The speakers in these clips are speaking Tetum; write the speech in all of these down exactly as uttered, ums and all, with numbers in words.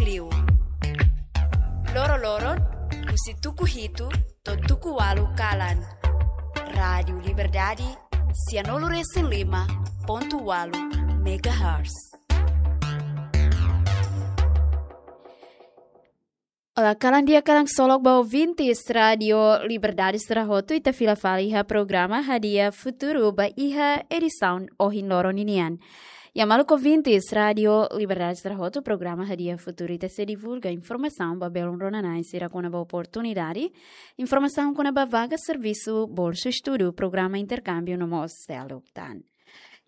Liu. Loro-loron, husi tuku hitu to'o tuku ualu kalan. Rádiu Liberdade, sianulu-resin-lima pontu ualu megahertz. Olá, kalan di'ak, kalan ksolok ba ouvintes Rádiu Liberdade sira hotu, ita fila fali iha programa Hadi'a Futuru ba iha edisaun ohin loron ninian. Ya, maluk ouvintes Rádiu Liberdade sira hotu, programa Hadi'a Futuru ita sei divulga informasaun ba belun rona-na'in sira kona-ba oportunidade, informasaun kona-ba vaga servisu, bolsu estudu, programa interkámbiu no mós seluk tan.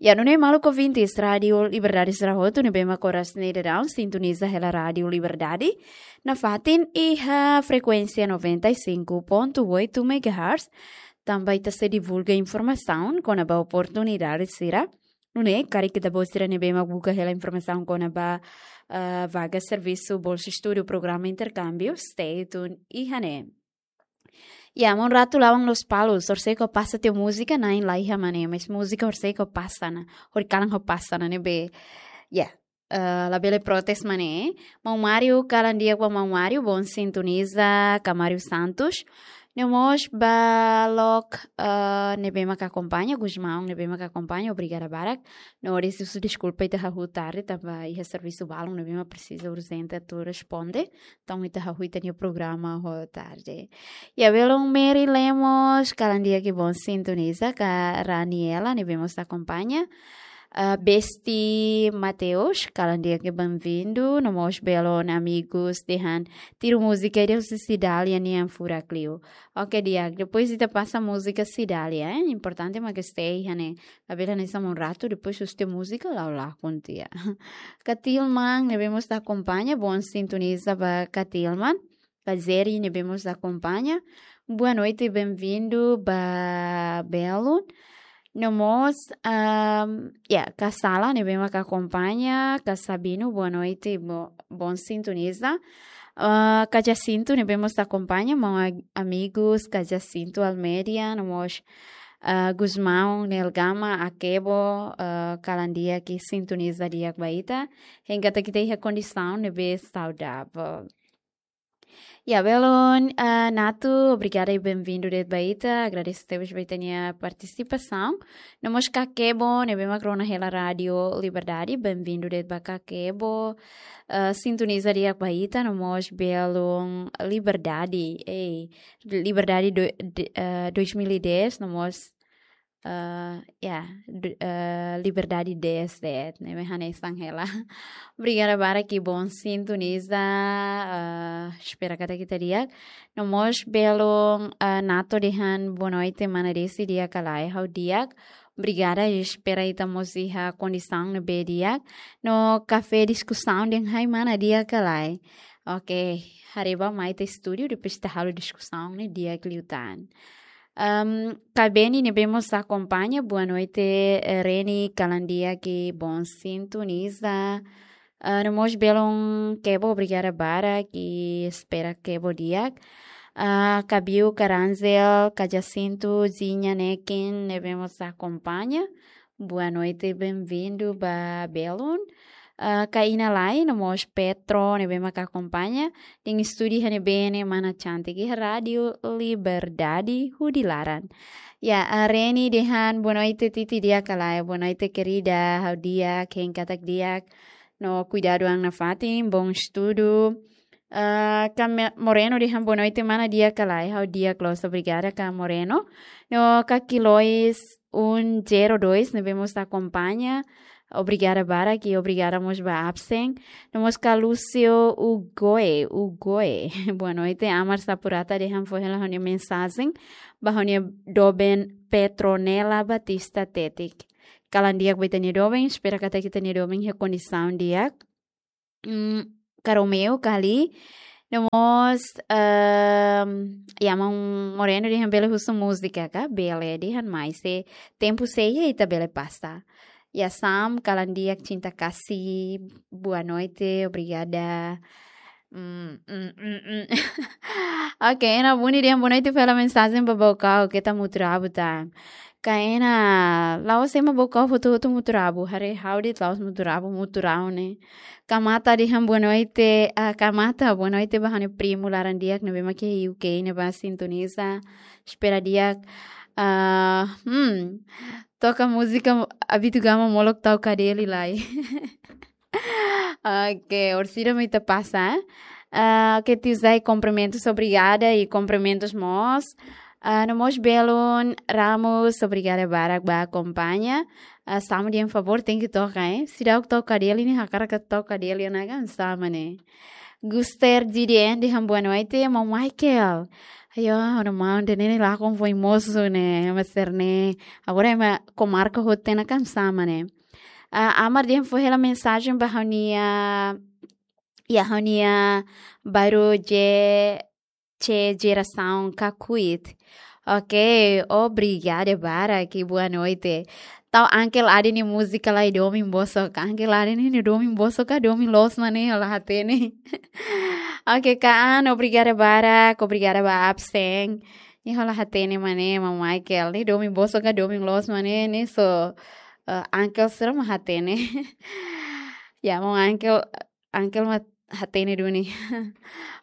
Ya, nune'e maluk ouvintes Rádiu Liberdade sira hotu ne'ebé mak oras ne'e daudaun sintoniza hela Rádiu Liberdade nafatin iha frekuénsia noventa e cinco ponto oito megahertz, tanba ita sei divulga informasaun kona-ba oportunidade sira. Nune'e karik ita-boot sira ne'ebé mak buka hela informasaun kona-ba, ah, vaga servisu, bolsu estudu, programa interkámbiu, stay tuned iha ne'e. Ya, maun Ratu Lawang Lospalos, horisehik ó pasa tiha múzika, na'in la iha mak ne'e, mas múzika horisehik ó pasa ona, horikalan ó pasa ona ne'ebé. Ya, eh, labele protes mak ne'e. Maun Mário, kalan di'ak ba maun Mário, bom sintoniza, ka Mário Santos. No mós ba lok, eh, ne'ebé mak akompaña, Gusmão, ne'ebé mak akompaña, obrigada barak. No, husu deskulpa ita hahú tarde, tanba iha servisu balun ne'ebé mak presiza urjente atu responde. Entaun ita hahú ita-nia programa ho tarde. Ya, belun Mary Lemos, kalan di'ak i bom sintoniza, ka Raniela, ne'ebé mós akompaña. Ah, Besti Mateus, kalan di'ak i benvindu, no mós belun amigus dehan tiru múzika ida husi Cidália nian furak liu. Oke, di'ak, depois ita pasa múzika Cidália, eh? Importante mak stay iha ne'e. Labele hanesan maun Ratu, depois husu tiha múzika, la'o lakon tiha. Katilman, ne'ebé mós akompaña, bom sintoniza ba Katilman. Kazeri, ne'ebé mós akompaña. Boa noite, benvindu ba belun. No mós, ahm, ya, Kasala, ne'ebé mak akompaña. Kasabino, boa noite, bo-, bom sintoniza. Ah, Kajasintu, ne'ebé mós akompaña, maun ag-, amigus, Kajasintu Almeida, no mós, ah, Gusmão, Nelgama, Akebo, ah, kalan di'ak i sintoniza di'ak ba ita. Hein katak ita iha kondisaun ne'ebé saudavel. Ya, belun, ah, Natu, obrigada i benvindu de'it ba ita. Agradese tebes ba ita-nia partisipasaun. No mós Kakebo, ne'ebé mak rona hela Rádiu Liberdade, benvindu de'it ba Kakebo. Ah, sintoniza di'ak ba ita, no mós belun Liberdade. Ei, Liberdade do, de, ah, dois mil e dez, no mós, ah, ya, du-, ah, Liberdade dez de'it, ne'ebé hanesan hela. Obrigada barak i bom sintoniza, ah, espera katak ita di'ak. No mós belun, ah, Nato dehan boa noite, mana Desi, di'ak ka lae, ha'u di'ak. Obrigada, espera ita mós iha kondisaun ne'ebé di'ak. No kafé diskusaun dehan hai mana, di'ak ka lae. Oke, haree ba mai ita estúdiu, depois ita halo diskusaun ne'e di'ak liután. Ahm, Kabeni ne'ebé mós akompaña, boa noite, eh, Reni, kalan di'ak i bom sintoniza. Ah, no mós belun Kebo, obrigada barak i espera Kebo di'ak. Ah, Kabiu, Karanzel, Kajasintu, Zinha, Nekin, ne'ebé mós akompaña. Boa noite, benvindu ba belun. Ah, Kaina Lai, no mós Petro, ne'ebé mak akompaña. Dehan estúdiu iha ne'ebé ne'e, mana Cantik, iha Rádiu Liberdade, hudi laran. Ya, ah, Reni dehan, boa noite, Titi, di'ak ka lae, boa noite, querida, ha'u di'ak, hein katak di'ak. No kuidadu an nafatin, bom estudu. Ah, Kame-, Moreno dehan boa noite, mana, di'ak ka lae, ha'u di'ak loos, obrigada, Ka Moreno. No Kakilois um zero dois, ne'ebé mós akompaña. Obrigada barak i obrigada mós ba absen. No mós Ka Lúcio Ugoe, Ugoe. Boa noite, Amar Sapurata dehan fó hela ha'u-nia mensajen ba ha'u-nia doben Petronela Batista Tetik. Kalan di'ak ba ita-nia doben, espera katak ita-nia doben iha kondisaun di'ak. Mm, Ka Romeo, Kali. No mós, ehm, ya, maun Moreno dehan bele husu múzika ka? Bele dehan, mas se tempu sei iha ita bele pasa. Ya, Sam, kalan di'ak, Cinta Kasih, boa noite, obrigada. Mm, mm, mm, mm. Oke, Ena Buni dehan boa noite, fó hela mensajen ba Baucau, keta mutu rabut tan. Kaena, la'ós ema bokau hotu-hotu mutu rabu, haree ha'u de'it la'ós mutu rabu, mutu rau ne'e. Kamata dehan boa noite, ah, Kamata, boa noite ba ha'u-nia primu laran di'ak ne'ebé mak iha U K ne'ebá sintoniza. Espera di'ak. Ah, hmm, toka múzika Abito Gama molok tau kadeli lai. Oke, orsida mai ita pasa. Ah, oke, Tiu Zai, kumprimentus, obrigada i kumprimentus mós. Ah, no mós Belun Ramos, obrigada barak ba akompaña. Ah, Samu dehan favór, tenke toka, eh. Seidauk tau kadeli ne'e, hakarak tau kadeli ona kan sama ne'e. Guster G D N dehan boa noite, Maun Michael. Ayo, ora maun de ne'e lakon foin mosu ne'e, ema sira-ne'e. Agora ema komarka hotu ona kan sama ne'e. Ah, Amar dehan fó hela mensajen ba ha'u-nia, ya, ha'u-nia baru je, je jerasaun kakuit. Oke, obrigada barak i boa noite. Tau Uncle Adi nia múzika lai domin bosok. Uncle Adi nia domin bosok ka domin loos mak ne'e, ha'u la hatene. Oke, Kaan, obrigada barak, obrigada ba absen. Ne'e ha'u la hatene mak ne'e, Maun Michael. Ne'e domin bosok ka domin loos mak ne'e, ne'e só, eh, Uncle sira mak hatene. Ya, Maun Uncle, Uncle mak hatene duni.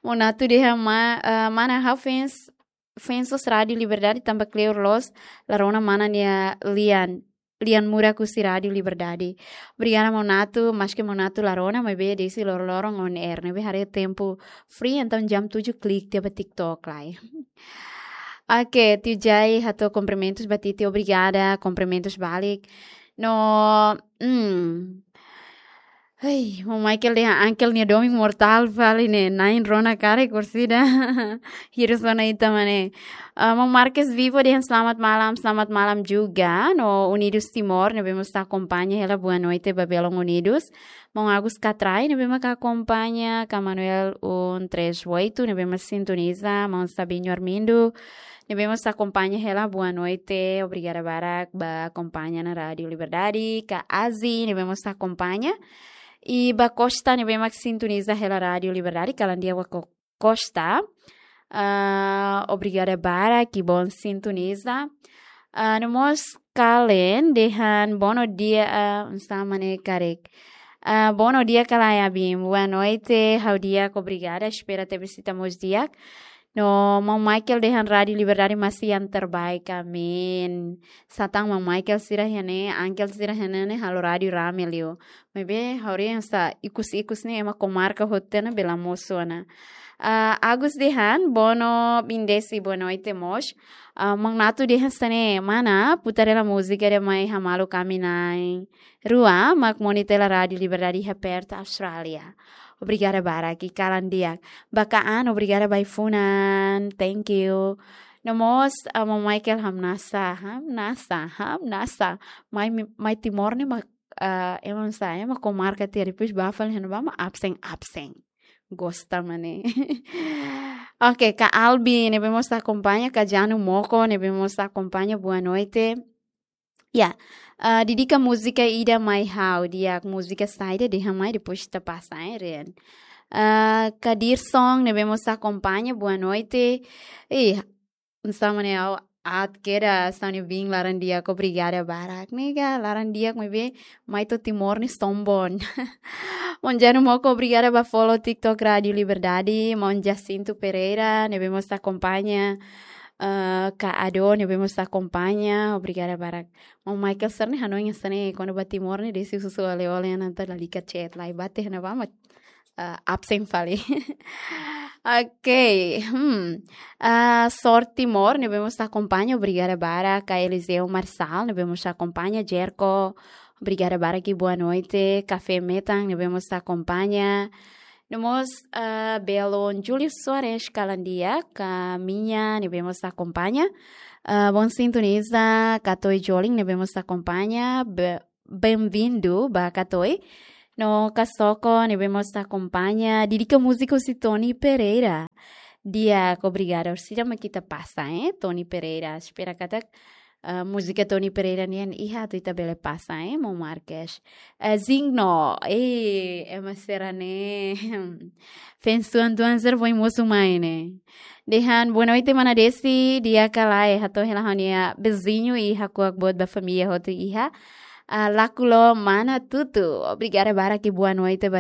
Maun Natu dehan ma-, eh, mana ha'u fans, fans loos Rádio Liberdade tanba kleur loos, la rona mana nia lian, lian murak husi Rádio Liberdade. Obrigada Maun Natu, maske Maun Natu la rona, maibé desde loroloron on air, ne'ebé haree tempu free, entaun jam tujuh klik tiha ba TikTok lai. Oke, Tiu Zai hato'o kumprimentus ba Titi, obrigada, kumprimentus balik. No, hmm. Hei, Maun Michael dehan Uncle nia domin mortál fali ne'e, na'in rona karik orsida. Hirus ona ita mak ne'e. Ah, Maun Marques Vivo dehan selamat malam, selamat malam juga. No Unidos Timor, ne'ebé mós akompaña hela, boa noite ba belun Unidos. Maun Agus Katrai, ne'ebé mak akompaña, Ka Manuel um três oito, ne'ebé mak sintoniza, Maun Sabinho Armindo, ne'ebé mós akompaña hela, boa noite, obrigada barak ba akompaña ona Rádio Liberdade, Ka Azi, ne'ebé mós akompaña, i ba Costa, ne'ebé mak sintoniza hela Rádio Liberdade, kalan di'ak ba Ko-, Costa. Ah, obrigada barak, i bom sintoniza. Ah, no mós Kalen dehan, bom dia, ah, sama ne'e karik. Ah, bom dia, Kalen Abim. Boa noite, ha'u di'ak, obrigada. Espera tebes ita mós di'ak. No, Maun Michael dehan Rádio Liberdade masih yang terbaik. Amin. Satán Maun Michael sira iha ne'e, Uncle sira iha ne'e, halo rádiu rame liu. Maibé, ha'u haree hanesan ikus-ikus ne'e, ema komarka hotu ona, bele mosu ona. Ah, Agus dehan, bono bindesi, boa noite mós. Ah, Maun Natu dehan hanesan ne'e, mana, putar hela múzika ida mai hamaluk ami na'in-rua, mak monitor hela Rádio Liberdade iha Perth, Austrália. Obrigada barak, i kalan di'ak. Ba Kaan, obrigada ba ai-funan. Thank you. No mós, ah, Maun Michael hamnasa, hamnasa, hamnasa. Mai, mai Timor ne'e mak, ah, ema hanesan, ema komarka tiha, depois bá fali iha ne'ebá mak absen, absen. Gosta mak ne'e. Oke, Ka Albi, ne'ebé mós akompaña, Ka Janu Moko, ne'ebé mós akompaña, boa noite. Ya, ah, dedika múzika ida mai ha'u, di'ak, múzika saida dehan mai, depois ita pasa, eh, Rian. Ah, Kadir Song, ne'ebé mós akompaña, boa noite. Ih, sama ne'e ha'u aat kedas, sani bin laran di'ak, obrigada barak. Nega, laran di'ak, maibé mai to'o Timor ne'e sombong. Maun Janu Moko, obrigada ba follow TikTok Rádio Liberdade. Maun Jacinto Pereira, ne'ebé mós akompaña. Ah, Ka Ado, ne'ebé mós akompaña, obrigada barak. Maun Michael sira-ne'e hanoin hanesan ne'e, kuandu ba Timor ne'e, desde husu ole-ole ona, entaun lalika chat lai, bá tiha ne'ebá mak, ah, absen fali. Oke, hmm. Ah, Sor Timor, ne'ebé mós akompaña, obrigada barak. Ka Eliseu Marçal, ne'ebé mós akompaña, Jerko, obrigada barak i boa noite. Kafé Metan, ne'ebé mós akompaña. No mós, ah, belun Júlio Soares, kalan di'ak, Ka Minha, ne'ebé mós akompaña. Ah, bom sintoniza, Katoi Joling, ne'ebé mós akompaña. Be-, bem-vindo ba Katoi. No Ka Soko, ne'ebé mós akompaña. Dedika múzika husi Tony Pereira. Di'ak, obrigada. Orsida mak ita pasa, eh, Tony Pereira. Espera katak Ah, múzika Tony Pereira nian iha atu ita bele pasa, eh, maun Marques. Eh, Zingno, eh, ema sira ne'e. Fans tuan-tuan sira foin mosu mai ne'e. Dehan, boa noite, mana Desi, di'ak ka lae, hato'o hela ha'u-nia viziñu i hakuak boot ba família hotu iha. Ah, Lakulo, mana Tutu. Obrigada barak i boa noite ba